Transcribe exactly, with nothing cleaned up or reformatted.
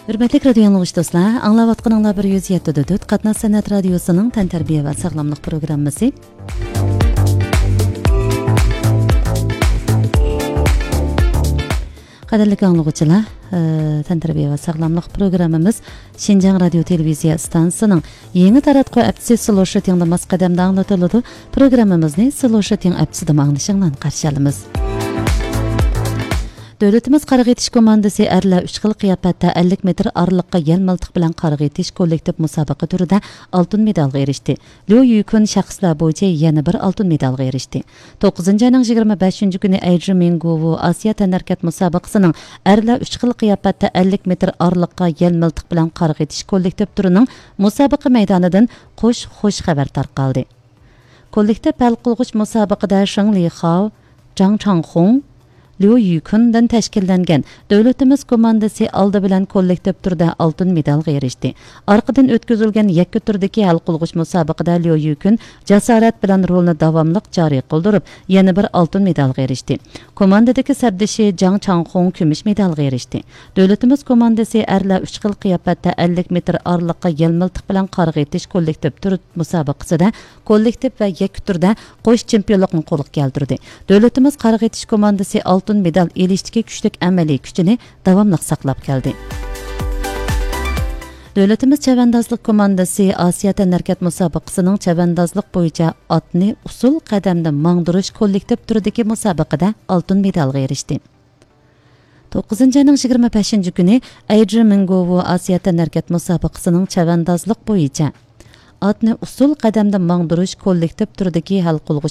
ھۆرمەتلىك رادىيو ئاڭلىغۇچى دوستلار، ئاڭلاۋاتقىنىڭلار بىر يۈز يەتتە دۆت قاتناش سەنئەت رادىيوسىنىڭ تەنتەربىيە ۋە ساغلاملىق پروگراممىسى. قەدىرلىك ئاڭلىغۇچىلار، ئە، تەنتەربىيە ۋە ساغلاملىق پروگراممىمىز شىنجاڭ رادىيو تېلېۋىزىيە ئىستانسىسىنىڭ يېڭى تاراتقۇ ھەپتىسى سلو شۇتىڭدا ماس قەدەمدە ئاڭلىتىلىدۇ. پروگراممىمىزنى سلو شۇتىڭ ئەپسىدىمۇ ئاڭلىشىڭلارنى قارشى ئالىمىز. دۆلىتىمىز قارىغا ئېتىش كوماندىسى ئەرلەر ئۈچ خىل قىياپەتتە ئەللىك مېتىر ئارىلىققا يەل مىلتىق بىلەن قارىغا ئېتىش كوللېكتىپ مۇسابىقە تۈرىدە ئالتۇن مېدالغا ئېرىشتى. ليۇ يۈكۈن شەخسلەر بويىچە يەنە بىر ئالتۇن مېدالغا ئېرىشتى. توققۇزىنچى ئاينىڭ يىگىرمە بەشىنچى كۈنى ئەيجى مىڭگوۋۇ ئاسىيا تەنھەرىكەت مۇسابىقىسىنىڭ ئەرلەر ئۈچ خىل قىياپەتتە ئەللىك مېتىر ئارىلىققا يەل مىلتىق بىلەن قارىغا ئېتىش كوللېكتىپ تۈرىنىڭ مۇسابىقە مەيدانىدىن قوش خۇش خەۋەر تارقالدى. كوللېكتىپ ھەل قىلغۇچ مۇسابىقىدە شېڭ لىخاۋ، جاڭ چاڭخۇڭ، ليۇ يۈكۈندىن تەشكىللەنگەن دۆلىتىمىز كوماندىسى ئالدى بىلەن كوللېكتىپ تۈردە ئالتۇن مېدالغا ئېرىشتى. ئارقىدىن ئۆتكۈزۈلگەن يەككە تۈردىكى ھەل قىلغۇچ مۇسابىقىدە ليۇ يۈكۈن جاسارەت بىلەن رولىنى داۋاملىق جارى قىلدۇرۇپ، يەنە بىر ئالتۇن مېدالغا ئېرىشتى. كوماندىدىكى سەپدىشى جاڭ چاڭخۇڭ كۈمۈش مېدالغا ئېرىشتى. دۆلىتىمىز كوماندىسى ئەرلەر ئۈچ خىل قىياپەتتە ئەللىك مېتىر ئارىلىققا يەل مىلتىق بىلەن قارىغا ئېتىش كوللېكتىپ تۈر مۇسابىقىسىدە كوللېكتىپ ۋە يەككە تۈردە قوش چېمپىيونلۇقنى قولغا كەلتۈردى. دۆلىتىمىز قارىغا ئېتىش كوماندىسى ئالتۇن مېدال ئېلىشتىكى كۈچلۈك ئەمەلىي كۈچىنى داۋاملىق ساقلاپ كەلدى. دۆلىتىمىز چەۋەندازلىق كوماندىسى ئاسىيا تەنھەرىكەت مۇسابىقىسىنىڭ چەۋەندازلىق بويىچە ئاتنى ئۇسسۇل قەدەمدە ماڭدۇرۇش كوللېكتىپ تۈرىدىكى مۇسابىقىدە ئالتۇن مېدالغا ئېرىشتى. توققۇزىنچى ئاينىڭ يىگىرمە بەشىنچى كۈنى ئەيجى مىڭگوۋۇ ئاسىيا تەنھەرىكەت مۇسابىقىسىنىڭ چەۋەندازلىق بويىچە ئاتنى ئۇسسۇل قەدەمدە ماڭدۇرۇش كوللېكتىپ تۈرىدىكى ھەل قىلغۇچ